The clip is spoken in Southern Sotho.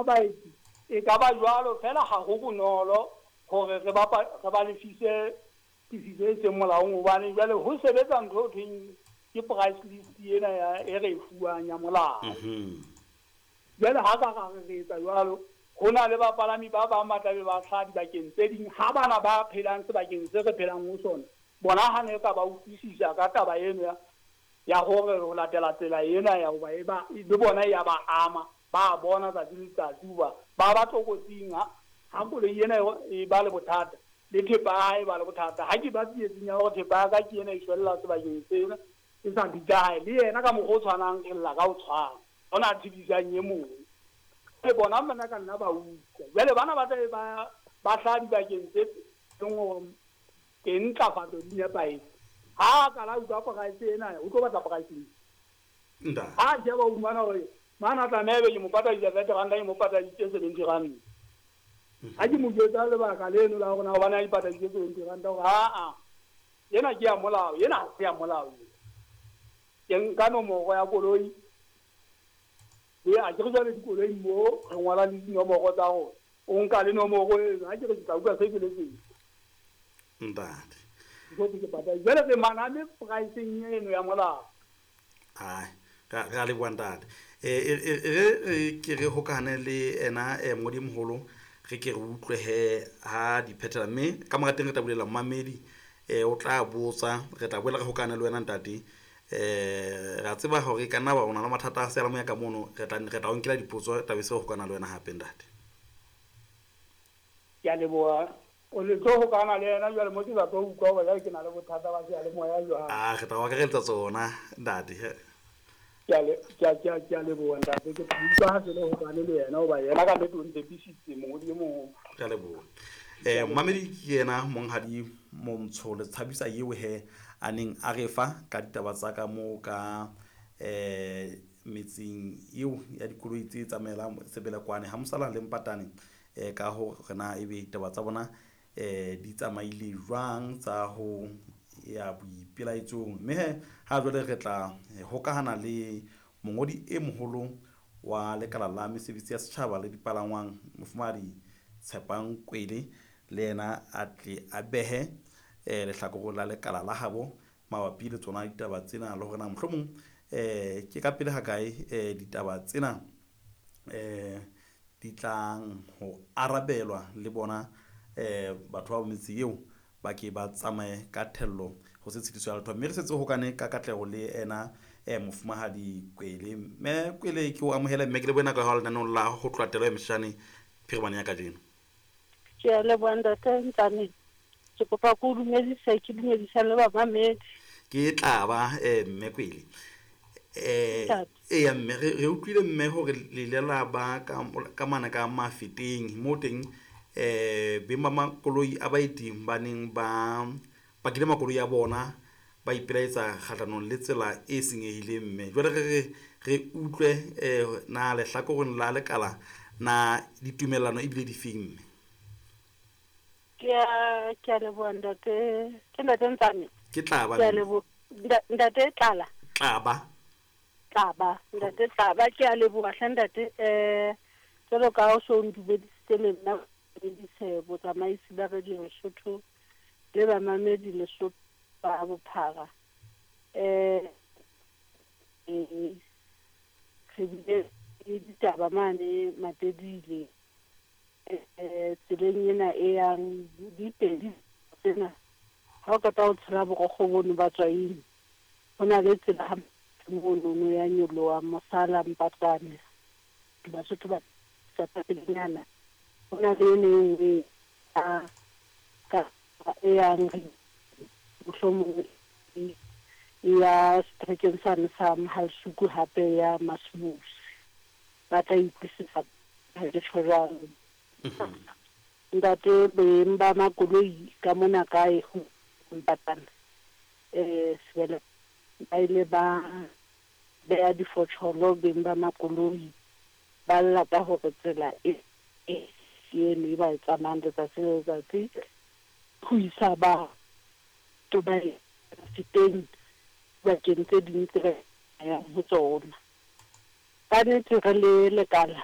Baeti e ka ba jwalo feela ha ho bonolo hore re ba re ba lefise tefiso e seng molaong hobane jwale ho sebetsa ntho ho thweng ke price list ena ya e re e fuwang ya molao. Jwale ha ka ra re re etsa jwalo, ho na le bapalami ba bang ba tlabe ba hlaha dibakeng tse ding ha bana ba phelang sebakeng se re phelang ho sona, bona ha ne ka ba utlwisisa ka taba eno ya ya hore ho latela tsela ena ya hoba e ba le bona ya ba ama, ba bona tsatsi le letsatsi hoba ba ba tlokotsing ha ha koloi ena e ba le bothata le thepa ya hae e ba le bothata. Ha ke ba tsietsing ya hore thepa ya ka ke ena e shwella sebakeng sena e sa bitsa hae, le yena ka mokgwa o tshwanang re lla ka ho tshwana, hona a tshedisang e mong. Le bona bana ka nna ba utlwa. Jwale bana ba tlabe ba ba hlaha dibakeng tse leng hore teng ntlafatso di nepahetse. Ha a kala a utlwa price ena, o tlo batla price list. Ha a sheba o fumana hore mane a tlameha ebe ke mo patadisa R30, ke mo pataditse R70. Ha ke mo jwetsa lebaka leno la hore na hobane a ipataditse R70 hore aa ena ke ya molao, ena ha se ya molao. Ke nka nomoro ya koloi le a ke re jwale dikoloi mo re ngola le dinomoro tsa rona. O nka le nomoro eno, ha ke re ke tla utlwa se ke le teng. Ntate. Jwale re maname pricing eno ya molao. Ai, ra leboha ntate. E re ke re hokahane le ena mongodi moholo, re ke re utlwe he ha di phethela, mme ka mora teng re tla bulela momamedi, o tla botsa, re tla boela re hokahane le wena ntate. Ra tseba hore ka nna ba o na le mathata a seyalemoya ka mono, re tla o nkela dipotso, tla be se re hokana le wena hape ntate. Ke a leboha. O le tlo hokana le yena jwale mo ke sa tlo utlwa hore jwale ke na le bothata ba seyalemoya jwang. Ah, re tla o akareletsa tsona ntate. Ke a le ke a ke a ke a leboha ntate, ke tla utlwa ha se le hokane le yena hoba yena ka nnete o ntshepisitse mongodi e moholo. Ke a leboha. Momamedi ke yena monghadi Montsho le Tshabisa eo he a neng a re fa ka ditaba tsa ka moo ka metseng eo ya dikoloi tse tsamaelang Sebelekwane ha Mosala le Mpatane, ka hore na ebe ditaba tsa bona di tsamaile jwang tsa ho ya boipelaetsong. Mme he ha jwale re tla hokahana le mongodi e moholo wa lekala la mesebetsi ya setjhaba le dipalangwang, mofumahadi Tshepang Kwele, le yena a tle a behe lehlakoreng la lekala la habo mabapi le tsona ditaba tsena, le hore na mohlomong ke ka pele hakae ditaba tsena di tlang ho arabelwa le bona batho ba metse eo ba ke ba tsamaye ka thello ho se tshitiso ya letho. Mme re setse hokane ka katleho le ena mofumahadi Kwele. Mme Kwele, ke o amohele mme ke lebohe nako ya hao lenaneong la ho tloha telo ya meshane phirimane ya kajeno. Ke a leboha ntate Ntsane. Ke kopa ke o dumedise, ke dumedisa le bamamedi. Ke tla ba mme Kwele. Eya mme re utlwile mme hore le ile la ba ka mane ka Mafeteng moo teng beng ba makoloi a baeti ba neng ba pakile makoloi a bona ba ipelaetsa kgahlanong le tsela e senyehileng mme. Jwale re re utlwe na lehlakoreng la lekala na ditumellano ebile di feng mme? Ke a leboha ntate, ke ntate Ntsane. Ke tla ba. Ke a leboha ntate Tlala. Tlaba. Tlaba, ntate Tlaba, ke a leboha hle ntate. Jwalo ka o so ndumedisitse le nna dumedise botsamaisi ba Radio Lesotho le bamamedi Lesotho ba bophara. Re bile le ditaba mane Matedile tseleng ena e yang dipedi tsena. Ha o qeta ho tshela borokgo bono ba Tswaing, ho na le tsela ha monono ya nyoloha Mosala Mpatane, Basotho ba pelenyana. Ho na le ene e nngwe ka e yang mohlomong e ya seterekeng sane sa Mohalsuku hape ya Masumusi. Ba tla utlwisisa ha ke tjho jwalo. Ntate, beng ba makoloi ka mona kae ho Mpatane, Sebele ba ile ba beha difotjholo beng ba makoloi, ba lla ka hore tsela e eno e ba e tsamayang letsatsi le letsatsi ho isa batho ba feteng dibakeng tse ding tse ba yang ho tsona. Ka nnete re le lekala